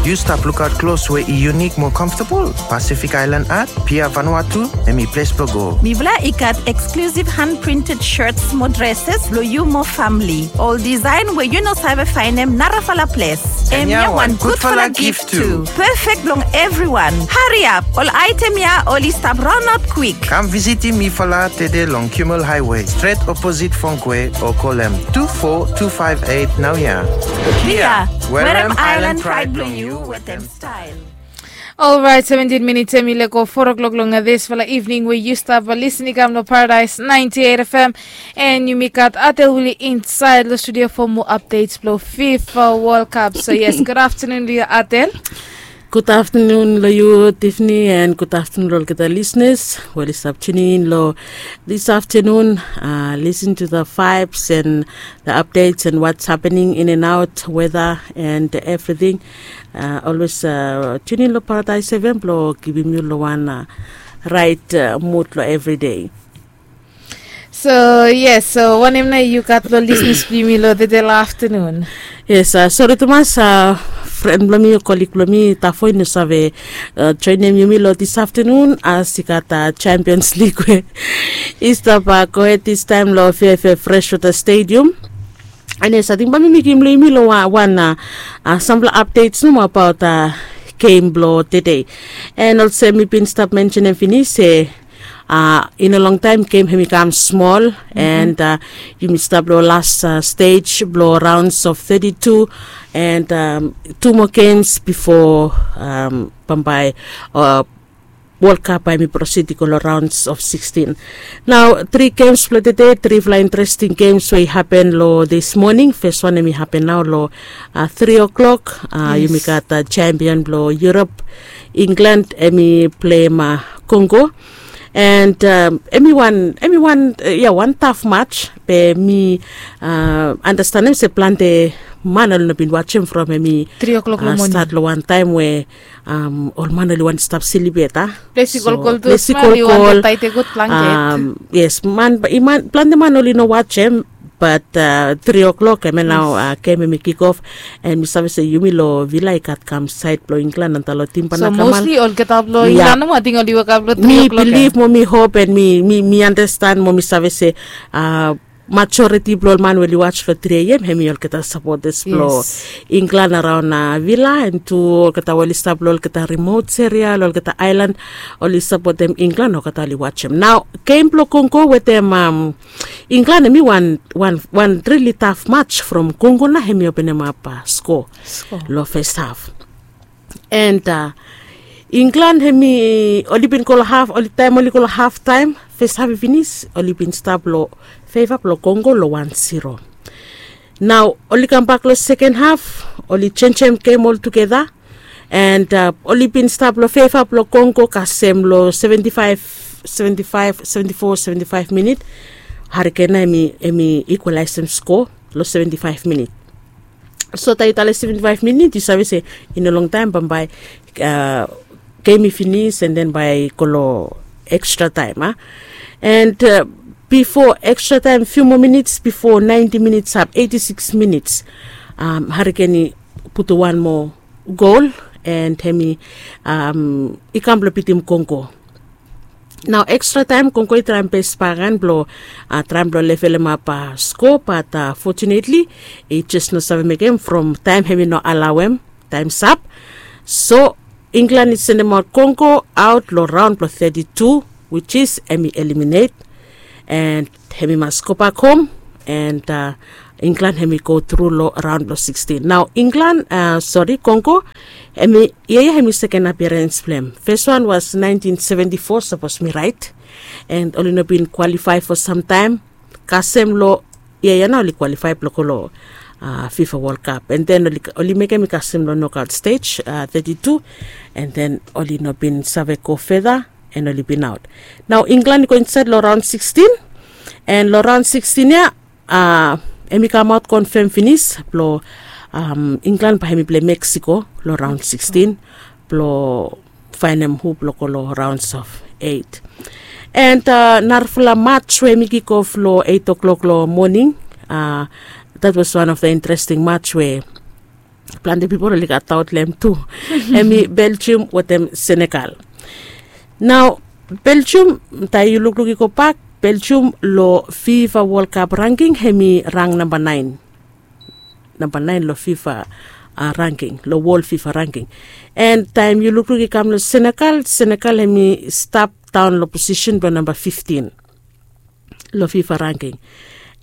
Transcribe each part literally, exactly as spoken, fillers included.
Yu stap lukaot klos we i yunik mo comfortable? Pacific Island Art, Pia Vanuatu, hemi ples blong go. Mifala i gat exclusive hand printed shirts mo dresses blong yu mo famili. Ol design we yu no save faenem narafala ples. Hemia wan gudfala gift tu. Perfect blong evriwan. Hariap, ol aetem ya oli stap raonaot kwik. Kam visitim mifala tede long Kimmel Highway, stret oposit Fongkwe, o kolem tu fo tu faef eit naoia. Pia, werem island pride blong yu wetem style. Olrait, seventin minits hemi lego four o'clock long disfala evening we yu stap lisin i kam long Paradise ninety-eight F M. And yumi gat Atel Willie insaed long studio for more updates blong FIFA World Cup. So yes, good afternoon long yu, Atel. Gud aftenun long yu, Tiffany, and gud aftenun long olgeta listeners we oli stap tuning in long this afternoon. Uh, listen to the vibes and the updates and what's happening in and out, weather and everything. Uh, always uh, tune in long Paradise F M blong givim yu long wan uh, right uh, mood long everyday. So yes, so wanem nao yu gat long listeners blong yumi long tede long aftenun? Yes, uh, sori tumas, uh, fren blong mi o kolig blong mi Tafo i no save uh, joinem yumi long this aftenun as i gat uh, Champions League we i stap uh, gohed this time long Fairfair Freshwater Stadium. And yes, ating bae mi mekem long yumi long wan, wan uh, uh, sampela updates nomo abaot uh, game blong tede. And olsem mi bin stap mensenem finis se uh, i no longtaem game hemi kam smol. And uh, yumi stap long last uh, stage blong rounds of thirty-two. And um, two more games before um, bambae uh, World Cup bae mi proceed i go long rounds of sixteen. Nao tri games blong tede, trifala interesting games we i hapen long this morning. First one hemi hapen nao long uh, three o'clock. Uh, yumi gat uh, champion blong Europe, England, hemi pleim uh, Congo. And um, hemi wan, hemi wan, uh, yeah, wan tough match. Be mi uh, understand hemi se plante man oli no bin wajem from hemi three o'clock uh, long morning. Start long wan taem we um, ol man oli wantem stap silip yet a. Ples i kolkol tu, ples i small, i wantem kolkol. Taet a gud blanket. Um, yes, man, i man, plante man oli no wajem. But uh, three o'clock hemia nao uh, game hemi kick off. And mi save se yumi long Villa i gat kam saed blong England antap long tim blong England. So mostly olgeta blong England nomo ating oli wokap long three o'clock. Mi bilif mo mi hop and mi, mi, mi understand mo mi save se uh, majoriti blong ol man we oli waj long three a.m. hemi olgeta sapotas blong England araon uh, Villa. And tu olgeta we oli stap long olgeta remote area, long olgeta island, oli sapotem England, olgeta oli wajem. Nao game blong Congo wetem um, England hemi wan, wan, wan really tough match from Congo nao hemi openemap uh, score long first half. And uh, England hemi oli bin go long half, oli taem oli go long half taem, first half i finis, oli bin stap long favor blong Congo long wan zero. Nao oli kambak long second half, oli jenjem game oltugeta. And uh, oli bin stap long favor blong Congo kasem long seventy-five, seventy-five, seventy-four, seventy-five minit. Harry Kane nao hemi, hemi equalaesem score long seventy-five minit. So taem yu talem seventy-five minit yu save se i no longtaem bambae uh, game i finis and then bae i go long extra time a. And uh, bifo extra time, few more minutes bifo ninety minutes up, eighty-six minutes, um, Harry Kane i putum wan moa goal and hemi um, i kam blong bitim Congo. Nao extra time Congo i traem bes baken blong uh, traem blong levelemap uh, score, but uh, fortunately i jes no save mekem from taem hemi no alaoem, taem sap. So England i sendemaot Congo aot long raon blong thirty-two, which is hemi eliminate. And hemi mas gobak hom. And uh, England hemi go tru long raon blong sixteen. Nao England, uh, sori, Congo, hemi, ia ia hemi second appearance blong hem. First one was nineteen seventy-four, sapos mi raet. And oli no bin qualify for some time. Kasem long ia ia nao oli qualify blong go long uh, FIFA World Cup. And then oli, oli mekem i kasem long knockout stage uh, thirty-two. And then oli no bin save go further. And oli bin aot. Nao England i go insaed long raon sixteen. And long raon sixteen ia uh, hemi kamaot confirm finis blong um, England bae hemi pleim Mexico long raon sixteen blong faenem hu blong go long rounds of eight. And uh, narafala match we hemi kick off long eight o'clock long morning. Uh, that was one of the interesting match we Plante pipol oli gat daot long hem tu. Hem i Belgium wetem Senegal. Nao Belgium, taem yu lukluk i gobak, Belgium long FIFA World Cup ranking hem i rang namba naen. Namba naen long FIFA ranking, long wol FIFA ranking. And taem yu lukluk i kam long Senegal, Senegal hem i stap daon long posisen blong namba fiftin long FIFA ranking.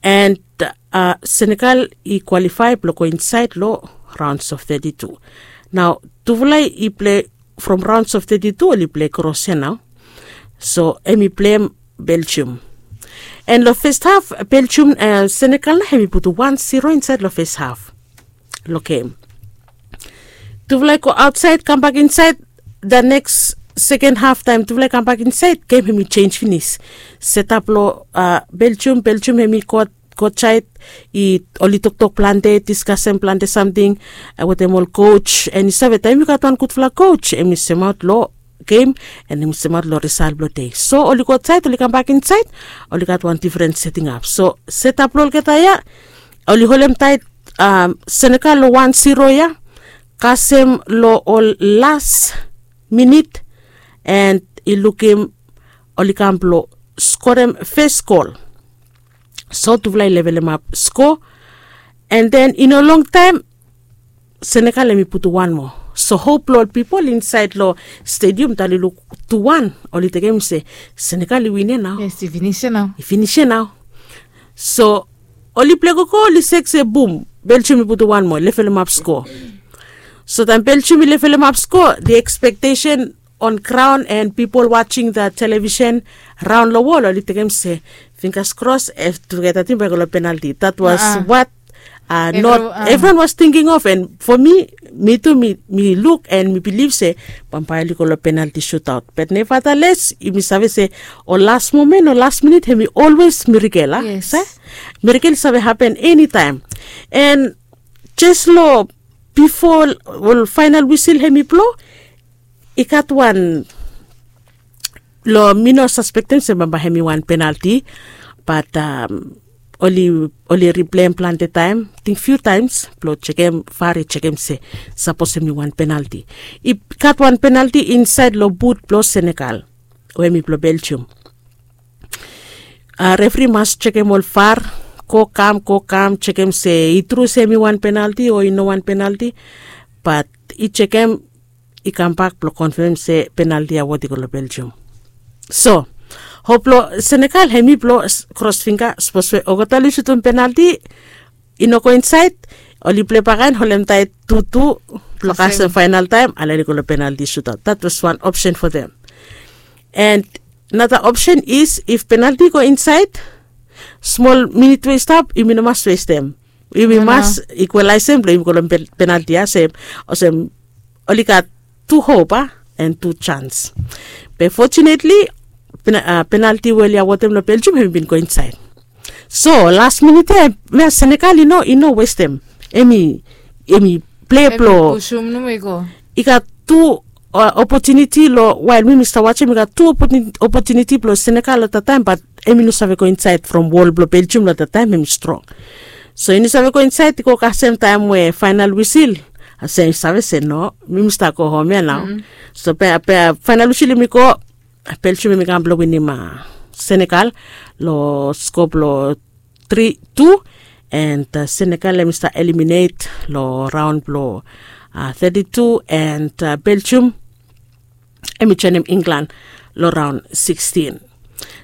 And Senegal i kwalifae blong go insaed long raons of teti tu. Nao tufala i plei from raons of teti tu, oli plei kros ya nao. So hem i pleim Belgium. And long fes haf, Belgium, Senegal nao hem i putum wan zero insaed long fes haf long gem. Tufala i go aotsaed, kambak insaed, the next second haf taem tufala i kambak insaed, gem hem i jenis finis. Setap long Belgium, Belgium hem i go aotsaed, oli toktok plante, diskasem plante samting wetem ol coach. And yu save taem yu gat wan gudfala coach, hem i semaot long gem, and hem i semaot long risal blong dei. So oli go aotsaed, oli kambak insaed, oli gat wan difren seting ap. So setap blong olgeta ya, oli holemtaed Senegal long wan zero ya, kasem long ol las minit, and i lukim oli kam blong skorem fes gol. So tufala i levelemap sko. And then i no longtaem Senegal hem i putum wan moa. So hop blong ol pipol insaed long stedium, taem oli luk tu wan, oli tekem se Senegal i win ya nao. Yes, i finis ya nao. I finis ya nao. So oli plei gogo, oli sek se bum, Belgium i putum wan moa, levelemap sko. So taem Belgium i levelemap sko, the expectation on ground and people watching the television raon long wol, oli tekem se fingers crossed, tufala team bae i go long penalti. That was what not everyone was thinking of. And for me, mi tu mi luk and mi bilif se bambae oli go long penalti shootout. But nevertheless, yumi save se ol las momen, ol las minit, hem i always miracle, a? Miracle i save hapen enitaem. And jes long bifo ol faenal wisil hem i blo, i gat wan long, mi no saspektem se bambae hem i wan penalti, bat oli ripleim plante taem, ting fiu taems, blo jekem, var i jekem se sapos hem i wan penalti. I gat wan penalti insaed long but blo Senegal we hem i blo Belgium. Refri mas jekem ol var, go kam, go kam, jekem se i tru se hem i wan penalti o i no wan penalti. Bat i jekem, i kambak blo konfem se penalti ya wot i go long Belgium. So hop blo Senegal hem i blo kros finga, sapos we olgeta oli sutum penalti, i no go insaed, oli plei bakaen, holemtaed tu tu, blo kasem faenal taem ale oli go long penalti shootout. That was one option for them. And another option is if penalti i go insaed, smol minit we i stap yumi no mas westem. Yumi mas ikwalaesem blo yumi go long penalti ya, se olsem oli gat tu hop, a, and tu jans. Be fotunetli penalti we oli awotem long Belgium hem i bin go insaed. So las minit ya, Senegal i no westem. Hem i plei blo, i gat tu opotuniti long, wael mi mi stap wajem, i gat tu opotuniti blo Senegal long that taem, bat hem i no save go insaed from wol blo Belgium long that taem hem i strong. So i no save go insaed, i go kasem taem we faenal wisil, se i save se no, mi mi stap go hom ya nao. So faenal wisil hem i go, Belgium hem i kam blo winim Senegal long sko blo tri tu. And Senegal hem i stap eliminet long raon blo teti tu, and Belgium hem i joenem England long raon sikstin.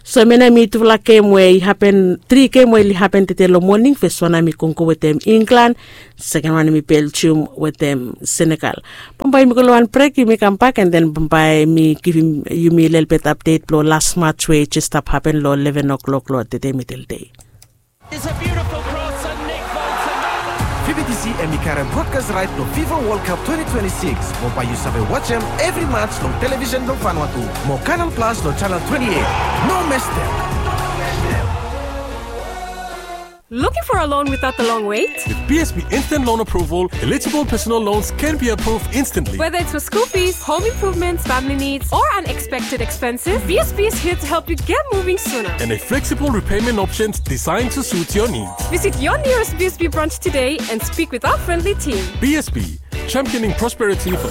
So hemia nao hem i tufala gem we i hapen, tri gem we oli hapen tede long moning. Fes wan hem i konko wetem England, seken wan hem i Belgium wetem Senegal. Bambae yumi go long wan brek, yumi kambak, and then bambae mi givim yumi lelebet apdet blo las mats we i jes stap hapen long leven o'clock long tede midel dei. It's a beautiful cross and Nick Bolton. Vibitisi hem i karem brodkas raet long FIFA World Cup twenty twenty-six, mo bae yu save wajem evri mats long televisen blong Vanuatu mo Canal Plus long janel twenty-eight. No mestem. Looking for a loan without the long wait? With B S B Instant Loan Approval, eligible personal loans can be approved instantly. Whether it's for school fees, home improvements, family needs, or unexpected expenses, B S B is here to help you get moving sooner. And a flexible repayment options designed to suit your needs. Visit your nearest B S B branch today and speak with our friendly team. B S B, championing prosperity for